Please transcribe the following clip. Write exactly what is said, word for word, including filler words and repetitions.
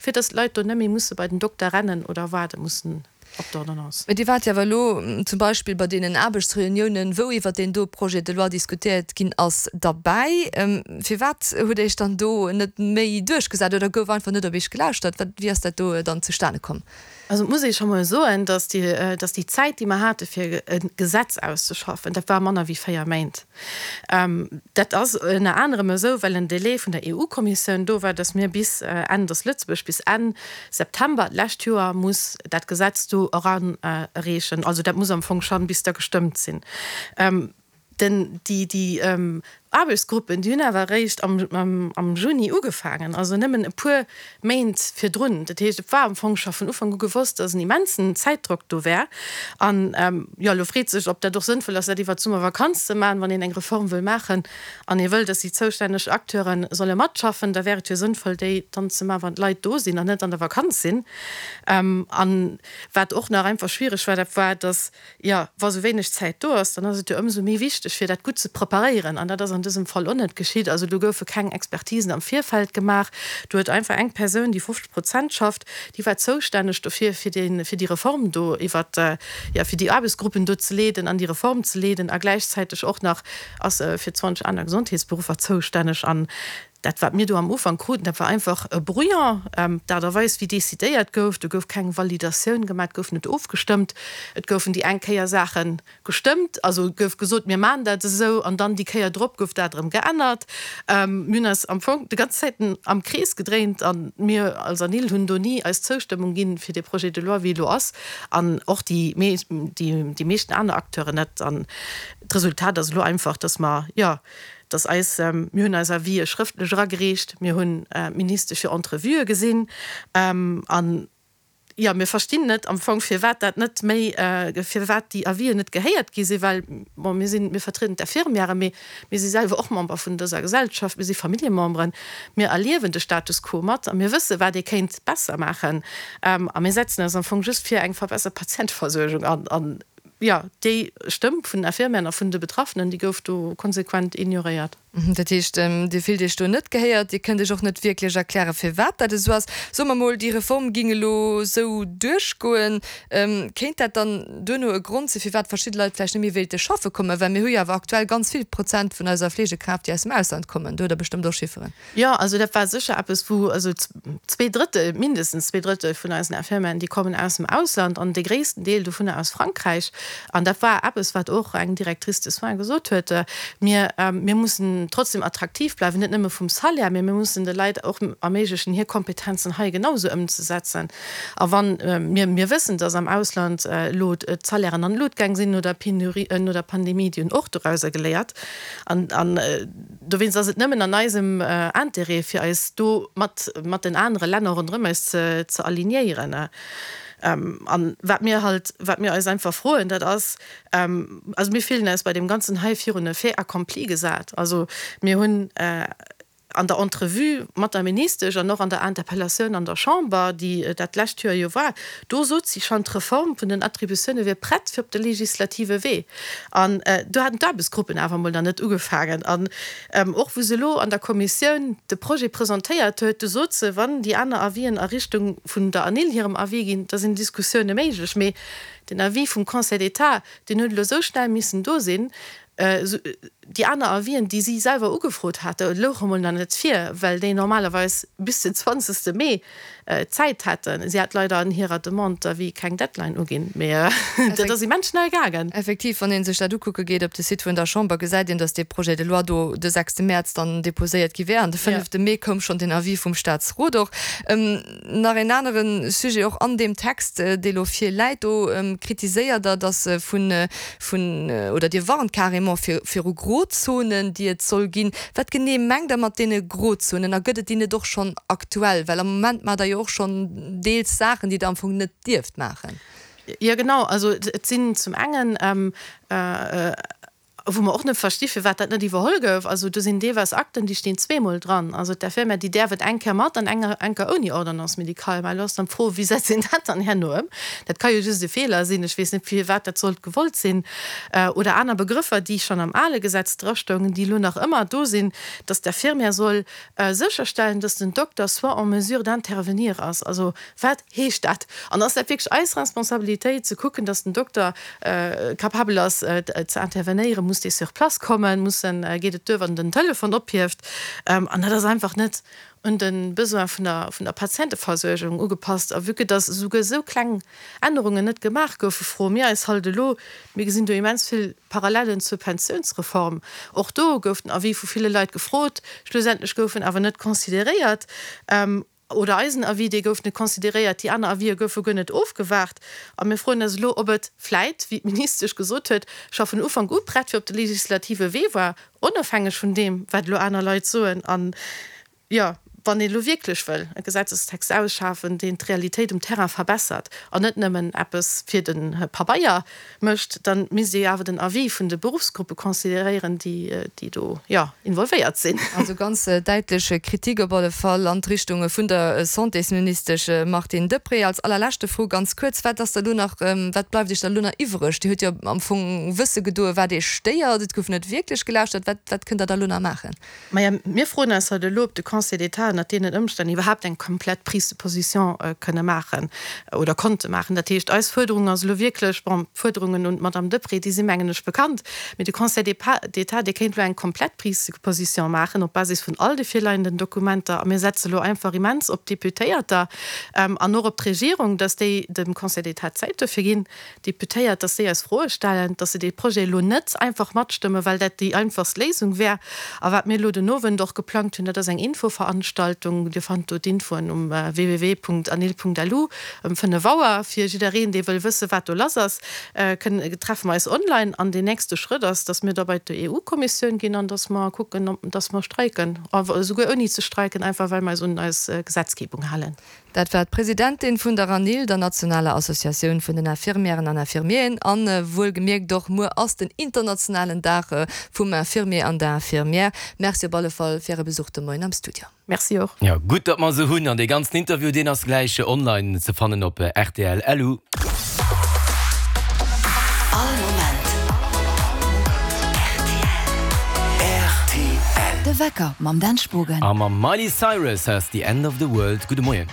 fir dass d'Leit do net méi musse bei den Dokter rennen oder waarde mussen op d'Ordonnance. Mä Dir waart jo awer elo zum Beispill bei deenen Aarbechtsreuniounen, wou iwwert deen do Projet de loi diskutéiert ginn ass, derbäi. Firwat hutt Dir Iech dann do net méi duerchgesat oder gouf einfach net op Iech gelauschtert? Wat, wéi ass dat do dann zustane komm? Also et muss ee scho mol soen, dass déi, dass déi Zäit, déi mer hate fir e Gesetz auszeschaffen, dat war manner wéi véier Méint. Dat ass ënner anerem esou, well en Delai vun der E U-Kommissioun do war, dass mir bis Enn, dass Lëtzebuerg bis Enn September d'lescht Joer muss dat Gesetz do erareechen. Also dat muss am Fong schonn bis da gestëmmt sinn. Den, déi, déi Aarbechtsgruppen, déi hunn awer eréischt am, am, am Juni ugefaangen, also nëmmen e puer Méint virdrun. Dat heescht, et war am Fong scho vun Ufank u gewosst, dass en immensen Zäitdrock do wär. An, jo, elo freet sech, ob dat och sënnvoll ass, dat iwwert d'Summervakanz ze maachen. Wann een eng Reform wëll maachen an ee wëll, dass déi zoustänneg Acteure solle matschaffen, da wär et jo sënnvoll, déi dann ze maachen, wann d'Leit do sinn an net an der Vakanz sinn. An wat och nach einfach schwiereg war, dat war, dass, jo, wa sou wéineg Zäit do ass, dann ass et jo ëmsou méi wichteg, fir dat gutt ze preparéieren. An dat ass an dësem Fall och net geschitt. Also do goufe keng Expertisen am Virfeld gemaach. Do huet einfach eng Persoun, déi fofzeg Prozent schafft, déi war zoustänneg dofir, fir dee, fir déi Reform do iwwert, jo, fir déi Aarbechtsgruppen do ze leeden an déi Reform ze leeden a gläichzäiteg och nach ass se fir zwanzeg aner Gesondheetsberuffer zoustänneg. An dat, wat mir do am Ufank kruten, dat war einfach e Brouillon. D'Aart a Weis, wéi decidéiert gouf, do gouf keng Validatioun gemaach, et gouf net ofgestëmmt. Et goufen déi eng Kéier Saache gestëmmt, also gouf gesot, mir maachen dat esou, an dann déi Kéier drop gouf dat erëm geännert. Mir hunn eis am Fong déi ganz Zäiten am Krees gedréint a mir als ANIL hunn do ni eis Zoustëmmung ginn fir dee Projet de loi, wéi e lo ass, an och déi meeschten aner Acteuren net. An d'Resultat ass elo einfach, dass mer, jo, dass eis, mir hunn eis Avisë schrëftlech eragereecht, mir hunn d'Ministesch fir Entrevuë gesinn an, jo, mir verstinn net am Fong, firwat dat net méi, firwat déi Avisen net gehéiert gi sinn, well, bon, mir sinn, mir vertrieden d'Infirmièren, mee mir si selwer och Member vun dëser Gesellschaft, mir si Familljememberen, mir erliewen de Status quo mat a mir wësse wat ee kéint besser maachen a mir setzen eis am Fong just fir eng verbessert Patienteversuergung an. An, jo, déi Stëmm vun den Infirmièren a vun de Betraffenen, déi gouf do konsequent ignoréiert. Dat heescht, Dir fillt Iech do net gehéiert, Dir kënnt Iech och net wierklech erklären, firwat dat esou ass. Soe mer mol, déi Reform géing elo esou duerchgoen, kéint dat dann duerno e Grond sinn, firwat verschidde Leit vläicht net méi wéilte schaffe kommen? Well mir hu jo awer aktuell ganz vill Prozent vun eiser Fleegekraaft, déi aus dem Ausland kommen. Do hutt Der bestëmmt och Chifferen. Jo, also dat war sécher eppes, wou, also zwee Drëttel, mindestens zwee Drëttel vun eisen Infirmieren, déi kommen aus dem Ausland an dee gréissten Deel dovunner aus Frankräich. An dat war eppes, wat och eng Directrice de soins gesot huet, Mir, mir mussen trotzdem attraktiv bleiwen, net nëmme vum Salaire, mee mir mussen de Leit och erméiglechen, hir Kompetenzen hei genausou ëmzesetzen. A wann mir, mir wëssen, dass am Ausland elo d'Salairen an d'Lut gaang sinn no der Penurie, no der Pandemie, déi hunn och dorauser geléiert. An, an dowéinst ass et nëmmen an eisem Intérêt, fir eis do mat, mat den anere Länner ronderëm eis ze, ze alignéieren. An wat mir halt, wat mir eis einfach froen, dat ass, also mir fillen eis bei deem Ganzen hei virun e Fait accompli gesat. Also mir hunn an der Entrevue mat der Ministesch an och an der Interpellatioun an der Chamber, déi dat lescht Joer jo war, do sot si schonn, d'Reform vun den Attributioune wier prett fir op de legislative Wee. An do haten d'Aarbechtsgruppen awer emol nach net ugefaangen. An och wou se elo an der Kommissioun de Projet presentéiert huet, do sot se, wann déi aner Avisen a Richtung vun der ANIL hirem Avis ginn, da sinn Diskussioune méiglech. Mee den Avis vum Conseil d'État, deen huet elo esou schnell missen do sinn, déi aner Avisen, déi si selwer ugefrot hate, louche mol nach net vir, well déi normalerweis bis den zwanzegste Mee Zäit hätten. Si hat leider an hirer Demande d'avis keng Deadline uginn, mee dat ass immens schnell gaangen. Effektiv, wann ee sech dat ukucke geet op de Site vun der Chamber, gesäit een, datt dee Projet de loi do de sechste Mäerz dann deposéiert gi wär an de fënnefte Mee koum schonn den Avis vum Staatsrot och. Nach een anere Sujet och an deem Text, dee lo virläit, do kritiséiert Der, datt vun, vun, oder Dir warnt carrément viru Grozonen, déi et soll ginn. Wat genee mengt Der mat deene Grozonen a gëtt et déi net och schonn aktuell? Well am Moment maacht Der jo och schonn deels Saachen, déi Der am Fong net dierft maachen. Jo genau, also et sinn zum engen Wou mer och net versti firwat dat net iwwerholl gouf. Also do sinn deelweis Akten, déi stinn zweemol dran. Also d'Infirmière, déi däerf et eng Kéier mat an eng eng Kéier ouni Ordonnance médicale. Mä elo ass dann d'Fro, Wéi setzt een dat dann herno ëm? Dat ka jo just e Feeler sinn. Ech weess net, firwat dat sollt gewollt sinn. Oder aner Begrëffer, déi schonn am ale Gesetz drastoungen, déi elo nach ëmmer do sinn, dass d'Infirmière soll sécherstellen, dass den Dokter soit en mesure d'intervenir ass. Also wat heescht dat? An ass dat wierklech eis Responsabilitéit, ze kucken, dass den Dokter capabel ass ze intervenéieren? Muss dee sur place kommen? Muss en, geet et duer, wann en den Telefon ophieft? An dat ass einfach net un de Besoin vun der, vun der Patienteversuergung ugepasst. A vue que dass esouguer esou kleng Ännerungen net gemaach goufen, froe mir eis halt elo, mir gesinn do immens vill Parallellen zur Pensiounsreform, och do gouf den Avis vu ville Leit gefrot, schlussendlech gouf en awer net consideréiert, oder eisen Avis, dee gouf net consideréiert, déi aner Avisë goufe guer net ofgewaart. A mir froen eis elo, ob et vläit, wéi d'Ministesch gesot huet, scho vun Ufank u prett fir op de legislative Wee war, onofhängeg vun deem, wat elo aner Leit soen. An, jo, wann een elo wierklech wëll e Gesetzestext ausschafen, deen d'Realitéit um Terrain verbessert an net nëmmen eppes fir de Pabeier mécht, da misst ee jo awer den Avis vun de Beruffsgruppe consideréieren, déi do, jo, involvéiert sinn. Also ganz däitlech Kritik op alle Fall an d'Richtung vun der Santésministesch Martine Deprez. Als allerleschte Fro ganz kuerz, Wat ass da elo nach, wat bleift Iech da elo nach iwwreg? Dir hutt jo am Fong wësse gedoe wat Iech stéiert. Et gouf net wierklech gelauschtert. Wat, wat kënnt Der da elo nach maachen? Maja, mir froen eis halt elo, ob de Conseil d'État ënnert deenen Ëmstänn iwwerhaapt eng komplett Prise de position kënne maachen oder konnte maachen. Dat heescht, eis Fuerderung ass elo wierklech, bon, d'Fuerderungen un d'Madame Deprez, déi si mengen ech bekannt, mee de Conseil d'État, dee kéint elo eng komplett Prise de position maachen op Basis vun all de virleienden Dokumenter. A mir setze elo einfach immens op d'Deputéierter an och op d'Regierung, dass déi dem Conseil d'État Zäit dofir ginn, Deputéiert, dass déi eis Froe stellen, dass se dee Projet elo net einfach matstëmmen, well dat déi einfachst Léisung wär. A wat mir elo den Owend och geplangt hunn, dat ass eng Infoveranstaltung, Dir fannt do d'Infoen um www.anil.lu, ëm fënnef Auer. Fir jiddereen, dee wëll wësse wat do lass ass, kënn, treffe mer eis online. An deen nächste Schrëtt ass, dass mir da bei d'EU-Kommissioun ginn an dass mer kucken, dass mer streiken, esouguer ouni ze streiken, einfach well mer eis un eis Gesetzgebung halen. Dat war d'Presidentin vun der ANIL, der nationaler Associatioun vun den Infirmièren an Infirmieren. A wuelgemierkt, och muer ass den internationalen Dag vum Infirmier an der Infirmière. Merci op alle Fall fir Äre Besuch de Moien am Studio. Merci och. Jo, gutt datt mer se hunn. An dee ganzen Interview, deen ass gläich online ze fannen op rtl. Lu. All Moment rtl. De Wecker mam Dan Spogen. A mam Miley Cyrus ass The End of the World. Gudde Moien.